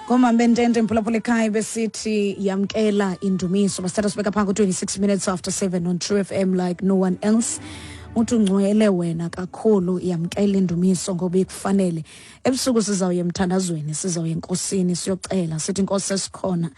Ngomhambe ntente mphulaphula ekhaya besithi yamkela indumiso. Basithatha sibeka phaa ku-26 minutes after 7 on True FM like no one else. Uthi ungcwele wena kakhulu, yamkela indumiso ngoba ikufanele. Ebusuku sizawuya emthandazweni, sizawuya enkosini siyocela sithi Nkosi sesikhona.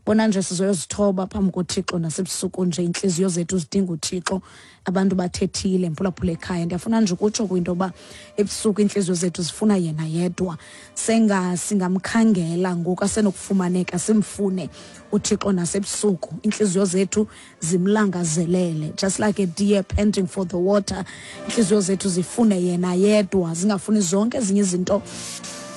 Bona nje sizoyozithoba phambi koThixo nasebusuku nje, intliziyo zethu zidinga uThixo. Abantu bathethile mphulaphula ekhaya, ndiyafuna nje ukutsho kwinto yoba ebusuku iintliziyo zethu zifuna yena yedwa. Senga singamkhangela ngoku asenokufumaneka, simfune uThixo nasebusuku, iintliziyo zethu zimlangazelele, just like a deer panting for the water. Iintliziyo zethu zifune yena yedwa, zingafuni zonke ezinye izinto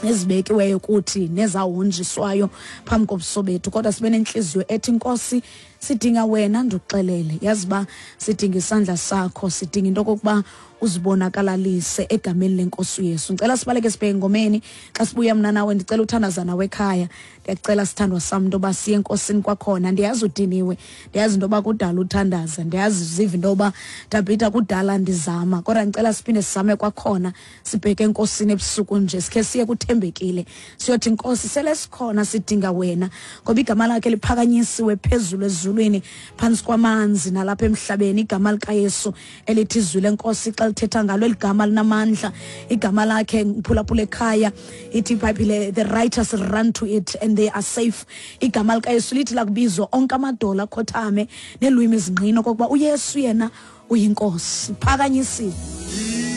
ezibekiweyo kuthi nezahonjiswayo phambi kobuso bethu, kodwa sibe nentliziyo ethi Nkosi sidinga wena. Ndikuxelele yazi uba sidinga isandla sakho, sidinga into okokuba uzibonakalalise egameni lenkosi uYesu. Ndicela sibaleke sibheke engomeni. Xa sibuya mna nawe ndicela uthandaza nawe ekhaya. Ndiyacela sithandwa sam into yoba siye enkosini kwakhona. Ndiyazi udiniwe, ndiyazi into yoba kudala uthandaza, ndiyazi ziva into yoba Tabhita kudala ndizama, kodwa ndicela siphinde sizame kwakhona, sibheke enkosini ebusuku nje, sikhe siye kuthembekile siyothi Nkosi sele sikhona, sidinga wena, ngoba igama lakhe liphakanyisiwe phezulu ezulwini, phantsi kwamanzi nalapha emhlabeni, igama likaYesu elithi izwi lenkosi xa lithetha ngalo eli gama linamandla, igama lakhe mphulaphula ekhaya. Ithi iBhayibhile, the righteous run to it and they are safe. Igama likaYesu lithi lakubizwa onke amadola akhothame neelwimi zingqina okokuba uYesu yena uyinkosi, phakanyisiwe.